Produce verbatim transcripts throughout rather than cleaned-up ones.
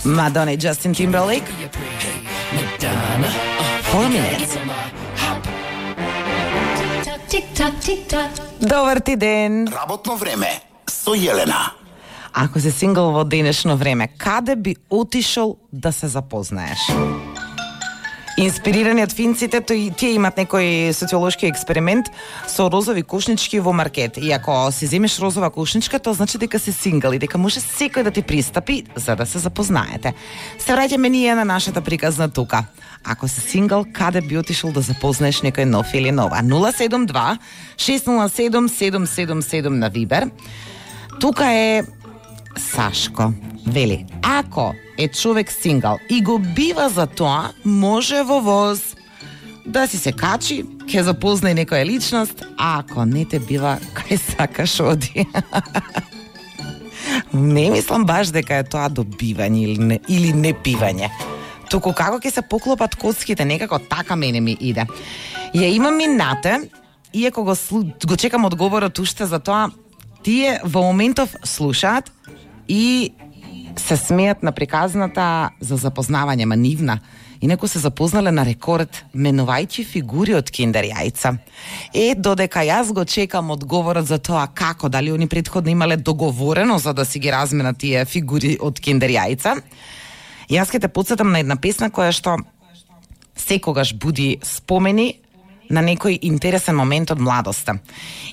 Madonna и Justin Timberlake. Four minutes. Добар ти ден. Работно време со Јелена. Ако си сингл во денешно време, каде би отишол да се запознаеш? Инспирирани од финците, тој, тие имат некој социолошки експеримент со розови кошнички во маркет. И ако си земеш розова кошничка, тоа значи дека си сингл и дека може секој да ти пристапи за да се запознаете. Се враќаме ние на нашата приказна тука. Ако си сингл, каде би отишол да запознаеш некој нов или нова? нула седум два шест нула седум седум седум седум на Вибер. Тука е Сашко. Вели, ако е човек сингл и го бива за тоа, може во воз да си се качи, ќе запознае некоја личност, а ако не те бива, кај сакаш оди. Не мислам баш дека е тоа добивање или не, или не пивање. Туку како ќе се поклопат коцките, некако така мене ми иде. Ја имам минате, иако го, го чекам одговорот уште за тоа, тие во моментов слушаат и се смеат на приказната за запознавање, ма нивна. Инаку се запознале на рекорд, менувајќи фигури од киндер јајца. Е, додека јас го чекам одговорот за тоа како, дали они претходно имале договорено за да си ги разменат тие фигури од киндер јајца, јас ќе те потсетам на една песна која што секогаш буди спомени на некој интересен момент од младоста.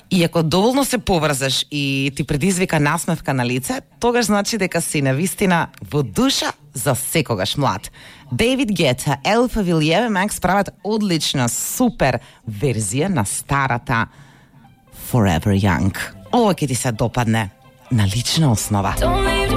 И ако доволно се поврзаш и ти предизвика насмевка на лице, тогаш значи дека си навистина во душа за секогаш млад. Дейвид Гета, Елфа Вилиеве Макс прават одлична, супер верзија на старата Forever Young. Ова ќе ти се допадне на лична основа.